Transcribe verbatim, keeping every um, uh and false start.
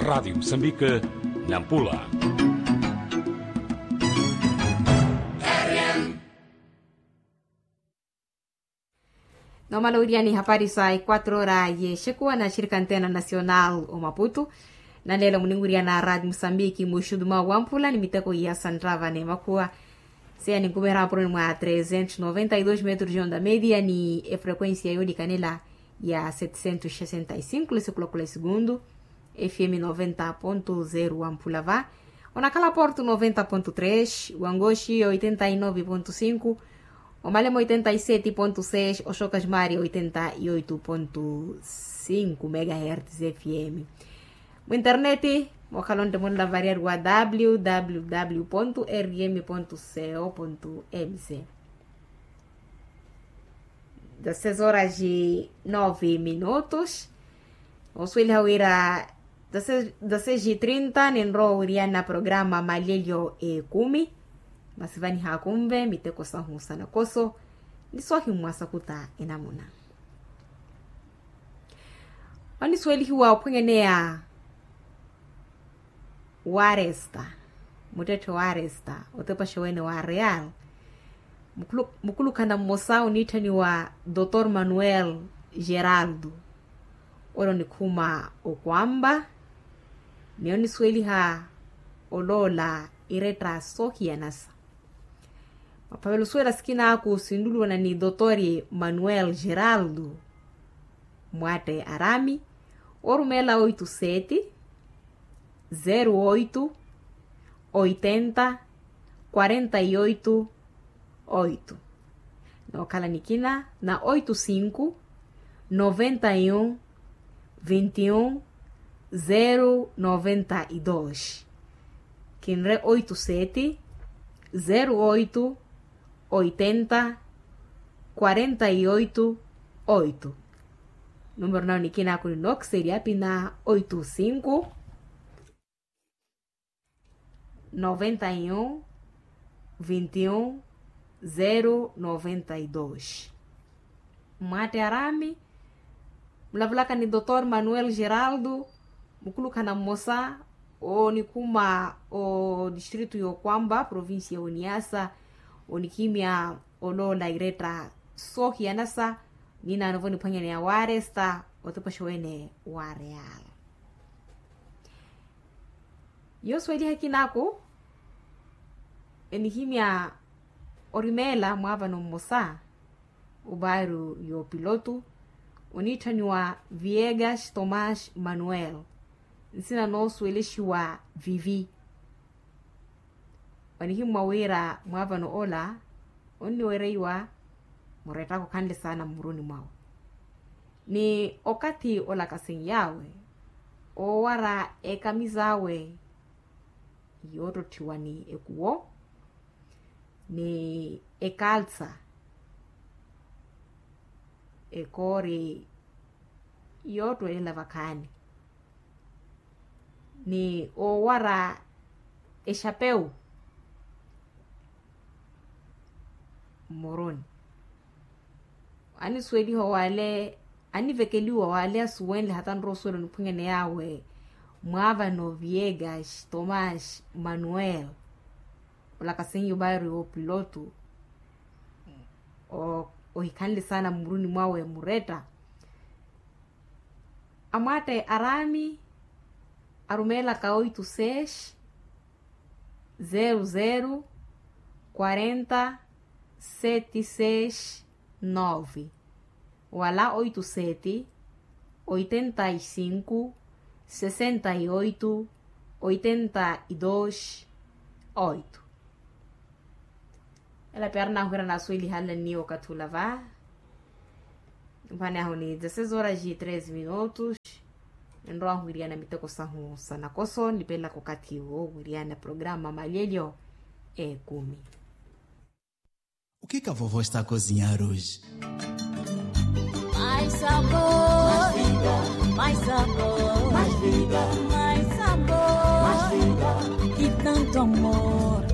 Radiyo musambika, nampula. Nomala owiriyani hapari sa equatro ora yexekuwa na xirika antena nacional omaputu. Nanleelo muninwiriyana radiyo musambiki muxudu mwa wamphula ni miteko ya santrava n'emakhuwa. Seya ninkumeera mapuroni mwa trezentos noventa y dos metros yonda media ni efrequencia yoolikanela ya setecentos sesenta y cinco lesekulakula esegundu. Fm noventa ponto zero wamphula va. Onakhala porto noventa ponto tres, wangoxi oitenta y nove ponto cinco, omalemo oitenta y sete ponto seis, oxoka ximari oitenta y oito ponto cinco megahertz. Fm. Mwinterneti mookhala ontte munlavariyari wa www ponto rm ponto co ponto mz. Dezasseis horas e nove minutos. Osuweliha wira dezasseis e trinta ninrowa owiriyana programa malelyo ekumi. Masi vanihakunve miteko sahu sanakoso ni soohimmwa sakuta enamuna. Onisuwelihiwa ophwenyeneya waresta, muttetthe waresta otepaxa wene wa real. Mukulukhana mmosa oniitthaniwa dr manuel geraldo, ole onikhuma okwamba ni onisuweliha oloola iretta soohiyanasa. Maphavela osuwela sikinaaku sinluluwana ni dr manuel geraldo, mwatte arami orumeela oito sete, zero oito, oitenta, quarenta y oito, oito. Nookhala nikina na oito cinco, noventa y um, vinte y um, zero noventa y dos. Kinre oito sete, zero oito, oitenta, quarenta y oito, oito. Numero nawe nikina kuni noxeria pina oito cinco, noventa y um, vinte y um, zero noventa y dos. Mwatte arami mulavulaka ni dr manuel geraldo, mukulukhana mmosa onikhuma odistritu y'okwamba provincia y'oniasa, onikimya oloola iretta soohiyanasa ninaanovo niphwanyaneya waresta otepaxa wene wa real. Yosuweliha kinaku enihimya orimeela mwaavano mmosa obairo y'opilotu oniitthaniwa viegas tomás manuel, nsina noosuwelexiwa vivi. Onihimmwa wira mwaavano ola onniwereiwa murettaka okhanle saana mmuruni mwawe ni okathi olakasenyawe oowara ekamisa awe, yoottotthiwa ni ekuwo ni ekalsa, ekoori yoottwelela vakhaani ni oowara exapeu mmuruni. Anisuweliha wale anivekeliwa wale asuwenle hata nrowa osuwela oniphwanyane yawe mwaavano viegas tomás manuel, olakasenyo bairo y'opilotu ohikhanle saana mmuruni mwawe muretta. Amwatte araami arumeelaka oito seis, zero zero, quarenta, sete seis, nove, wala oito sete, oitenta y cinco, sessenta y oito, oitenta y dois, oito. Ela piara naahwira naasweliha nla nniiwa okathi ula va. Mphani ahu ni dezasseis horas e treze minutos. Enrowa ahwiriyana miteko sahu sa nakoso nipelaka okathi wo wiriyana programa malelyo ekumi. O que que a vovó está a cozinhar hoje? Mais sabor, mais vida, mais sabor, mais vida, mais sabor, mais vida. E tanto amor.